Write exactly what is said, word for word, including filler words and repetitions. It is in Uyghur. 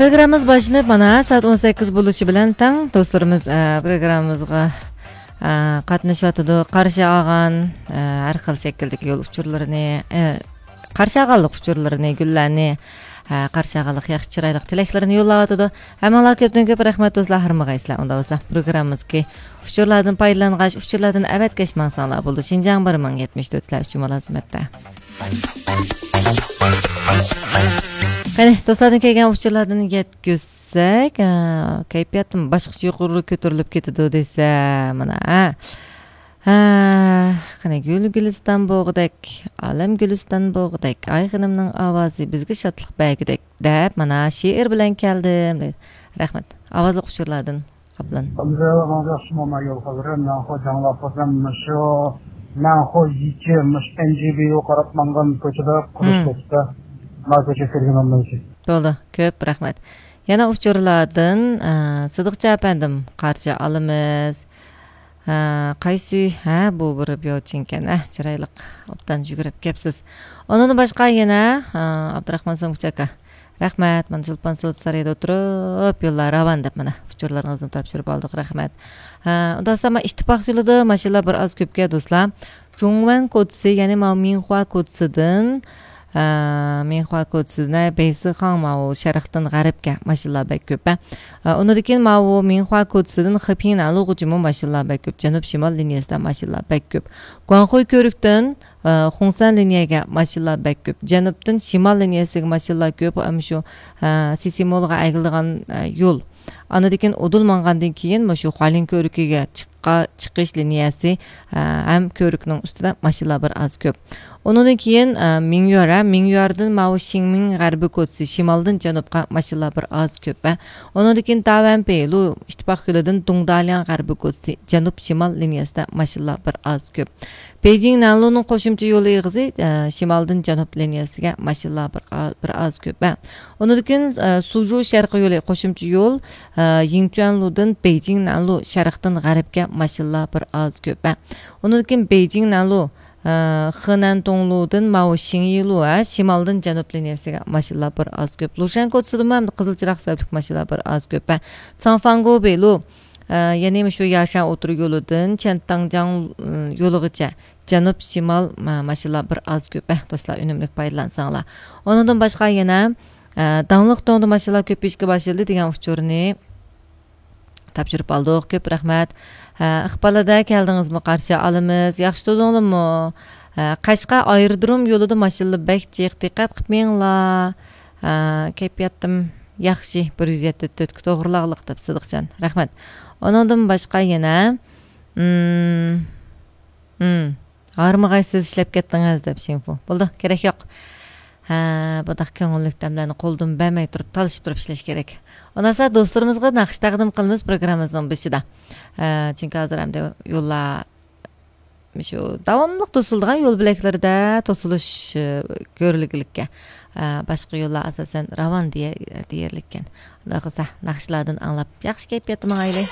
پروگراممىمىز باشلىنىپ، مانا، سائەت ئون سەككىز بولۇشى بىلەن تەڭ دوستلىرىمىز، ئە، پروگراممىمىزغا، ئە، قاتنىشىۋاتىدۇ. قارشى ئالغان، ئە، ھەر خىل شەكىلدىكى يول ئۇچۇرلىرىنى، ئە، قارشى ئالغانلىق ئۇچۇرلىرىنى، گۈللەرنى، ئە، قارشى ئالغانلىق ياخشى چىرايلىق تىلەكلىرىنى يوللاۋاتىدۇ. ھەممىڭلارغا كۆپتىن كۆپ رەھمەت دوستلار، ھارمىغايسىلەر. ئۇنداق بولسا پروگراممىمىزدىكى ئۇچۇرلاردىن پايدىلانغاچ، ئۇچۇرلاردىن ئەۋەتكەچ ماڭساڭلار بولىدۇ. شىنجاڭ بىر مىڭ يەتمىش تۆت سىلەر ئۈچۈن مۇلازىمەتتە. قېنى، دوستلاردىن كەلگەن ئۇچۇرلاردىن يەتكۈزسەك، ئا، كەيپىياتىم باشقىچە يۇقىرى كۆتۈرۈلۈپ كېتىدۇ دېسە، مانا، ھە. ھە، قېنى، گۈل گۈلىستان بوغىدەك، ئالەم گۈلىستان بوغىدەك، ئايخېنىمنىڭ ئاۋازى بىزگە شادلىق بەرگۈدەك، دەپ، مانا، شېئىر بىلەن كەلدىم. رەھمەت. ئاۋازلىق ئۇچۇرلاردىن قاپلان. ئابدۇرەھمان ياخشىمۇ ما يول خەۋىرى؟ مەنخۇ جاڭلاپ قالسام، مۇشۇ مەنخۇ يىچى، مۇشۇ ئەنجىبىيو قاراپ ماڭغان كوچىدا قۇرۇش كەتتى. ما كوچا كۆرگىنىم بولسا. بولدى، كۆپ رەھمەت. يەنە ئۇچۇرلاردىن، ئە، سىدىقچى ئەپەندىم، قارشى ئالىمىز. ئە، قايسى، ھە، بۇ بىر بيوچىنكەن، ئە، چىرايلىق، ئوبدان يۈگۈرۈپ كەپسىز. ئۇنىڭدىن باشقا يەنە، ئە، ئابدۇراخمان سومكىچى ئاكا. رەھمەت، مانا چولپان سودا سارىيىدا ئولتۇرۇپ، يوللار راۋان دەپ، مانا، ئۇچۇرلىرىڭىزنى تاپشۇرۇپ ئالدۇق، رەھمەت. ھە، ئۇنداقسا، مانا، ئىتتىپاق يولىدا ماشىنىلار بىر ئاز كۆپكەن، دوستلار. جۇڭۋەن كوچىسى، يەنى ماۋۇ مىنخۇا كوچىسىدىن، ئە، مىنخۇا كوچىسىدىن، ھە، بەيسىخاڭ، ماۋۇ شەرقتىن غەربكە ماشىنىلار بەك كۆپ، ھە. ئە، ئۇنىڭدىن كېيىن ماۋۇ مىنخۇا كوچىسىدىن خېپىڭنەنلۇغىچىمۇ ماشىنىلار بەك كۆپ، جەنۇب شىمال لىنىيەسىدە ماشىنىلار بەك كۆپ. گۇاڭخۇي كۆۋرۈكتىن ئە، خۇڭسەن لىنىيەگە ماشىنىلار بەك كۆپ. جەنۇبتىن شىمال لىنىيەسىگە ماشىنىلار كۆپ. ئەمما شۇ، ئە، سىسىمولغا ئەگىلىدىغان، ئە، يول. ئاندىن كېيىن ئۇدۇل ماڭغاندىن كېيىن، مۇشۇ خۇالىن كۆۋرۈكىگە چىققا-، چىقىش لىنىيەسى، ئە، ھەم كۆۋرۈكنىڭ ئۈستىدە ماشىنىلار بىر ئاز كۆپ. ئۇنىڭدىن كېيىن، ئە، مىڭيۈەر، ھە، مىڭيۈەردىن ماۋۇ شىڭمىڭ غەربىي كوچىسى، شىمالدىن جەنۇبقا ماشىنىلار بىر ئاز كۆپ، ھە. ئۇنىڭدىن كېيىن تاۋەنپېي لۇ ئىتتىپاق يولىدىن دۇڭدالياڭ غەربىي كوچىسى، جەنۇب شىمال لىنىيەسىدە ماشىنىلار بىر ئاز كۆپ. بېيجىڭ نەنلۇنىڭ قوشۇمچە يولى ئېغىزى، ئە، شىمالدىن جەنۇب لىنىيەسىگە ماشىنىلار بىر ئا-، بىر ئاز كۆپ. ئۇنىڭدىن كېيىن، ئە، سۇجۇ شەرقىي يولى قوشۇمچە يول، ئە، يىڭچۈەنلۇدىن بېيجىڭ نەنلۇ شەرقتىن غەربكە ماشىنىلار بىر ئاز كۆپ. ئۇنىڭدىن كېيىن بېيجىڭ نەنلۇ، ئە، خېنەن توڭلۇدىن ماۋۇ شىڭيىلۇ، ئە، شىمالدىن جەنۇب لىنىيەسىگە ماشىنىلار بىر ئاز كۆپ. لۇشەن كوچىسىدىمۇ ھەم قىزىل چىراغ سەۋەبلىك ماشىنىلار بىر ئاز كۆپ. ساڭفاڭگو بېلۇ، ئە، يەنى مۇشۇ ياشان ئوتتۇرا يولىدىن چيەنتاڭجياڭ، ئە، يولىغىچە جەنۇب شىمال ما-، ماشىنىلار بىر ئاز كۆپ، ئە، دوستلار، ئۈنۈملۈك پايدىلانساڭلار. ئۇنىڭدىن باشقا يەنە، ئە، داڭلىق توڭدا ماشىنىلار كۆپىيىشكە باشلىدى دېگەن ئۇچۇرنى تاپشۇرۇپ ئالدۇق. كۆپ رەھمەت. ئە، ئىقبال ئەدە، كەلدىڭىزمۇ؟ قارشى ئالىمىز. ياخشى تۇردۇڭلارمۇ؟ ئە، قەشقەر ئايرودروم يولىدا ماشىنىلار بەك جىق، دىققەت قىلىپ مېڭىڭلار. ئە، كەيپىياتىم ياخشى، بىر يۈز يەتتە تۆتكە توغرىلاغلىق دەپ سىدىقجان. رەھمەت. ئۇنىڭدىن باشقا يەنە، مم، مم، ھارمىغايسىز ئىشلەپ كەتتىڭىز دەپ شىڭفۇ. بولدى، كېرەك يوق. ھە، بۇنداق كۆڭۈللۈك دەملەرنى قولدىن بەرمەي تۇرۇپ، تالىشىپ تۇرۇپ ئىشلەش كېرەك. ئۇنداقسا دوستلىرىمىزغا ناخشا تەقدىم قىلىمىز پروگراممىمىزنىڭ بېشىدا. ھە، چۈنكى ھازىر ئەمدى يوللار شۇ داۋاملىق توسۇلىدىغان يول بۆلەكلىرىدە توسۇلۇش، ئە، كۆرۈلگىلىككەن. ئە، باشقا يوللار ئاساسەن راۋان دېيە-، دېيەرلىككەن. ئۇنداق قىلسا، ناخشىلاردىن ئاڭلاپ ياخشى كەيپىياتتا ماڭايلى.